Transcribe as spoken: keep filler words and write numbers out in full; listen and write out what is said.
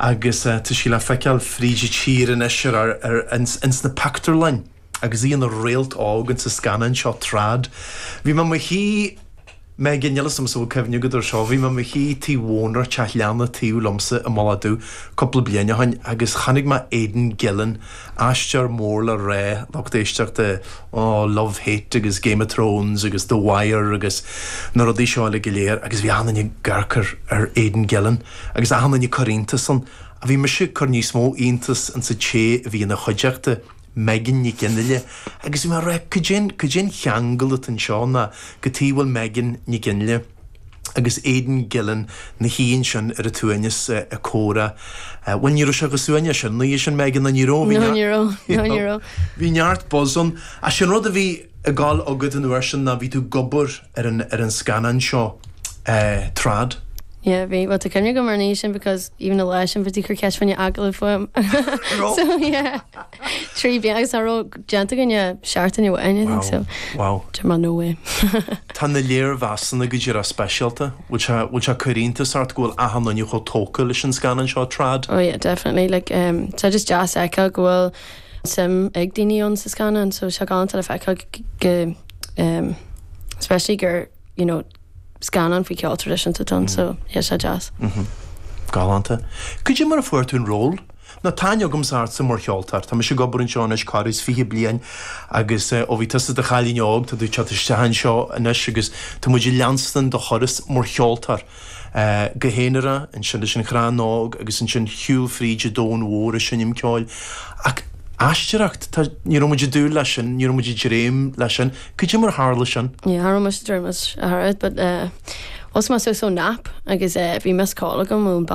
Agus uh, tá sí le feiceáil fríd an tír anois ar, ar, ins, ins na pictiúrlanna agus í ina réalt óg sa scannán seo Trad. Bhí mé i mo shuí Megan níl a fhios cuimhne agat ar seo, bhí mé i mo shuí tí bhónar teach leanna taobh liomsa i mBaile Dubh cúpla bliain ó shin agus chonaic mé Aidan Gillen aisteoir mór le rá lucht éisteachta ó Love Hate agus Game of Thrones agus The Wire agus na rudaí seo le go léir agus bhí an-chuid ag amharc ar Aidan Gillen agus an-chuid ag cur iontas ann a bhí mise ag cur níos mó iontas an sa té a bhí ina chuideachta. Megan Nic Fhionnghaile agus mar cad é an ceangal anseo ná go bhfuil Megan Nic Fhionnghaile agus Aidan Gillen ina shuí sin ar a suaimhneas ag comhrá. Bhuel ní raibh sé go suaimhneas sin ní sin Megan an ní ní Bhí neart buzz ann a sin rud a bhí ag gabháil agat an uair sin ná bhí tú ag obair ar an ar an scannán seo uh, trad. Yeah, bhí well, tá cuimhne agam ar ní sin because even a leis sin bhí chur ceist fáinne agallamh fúm. So yeah. Trí bliana agus raibh déanta againne seachtain amháin I think so. Wow. Mar no way. Tá na léirmheasanna go dtí speisialta, bhfuil sé ag cur iontas ort go bhfuil achan duine chomh tógtha leis an scannán seo trad? Oh yeah, definitely like um, tá just deas feiceáil go bhfuil suim ag daoine ann sa scannán, so sé galánta le feiceáil go um, especially gur you know, scannán faoi ceol traidisiúnta ann so yeah, sé deas. Mm -hmm. Galánta. Cad é mar a fuair tú an ról? Ná tá aithne agam ortsa mar cheoltóir, Tá mise ag obair anseo anois corradh fiche bliain agus ó bhí tusa i do chailín óg tá tú teacht isteach anseo anois agus tá muid ag leanstan do thuras mar cheoltóir. Uh, go haonarach ansin leis an Chrann Óg agus ansin shiúl fríd an domhan mhór ag seinm ceoil. Ach aisteoireacht ní raibh muid ag dúil leis sin, ní raibh muid ag dréim leis sin, Cad é mar tharla sin? Yeah, cha raibh mise ag dréim leis a chara, but uh, was mé so so nap agus uh, bhí missed call agam ón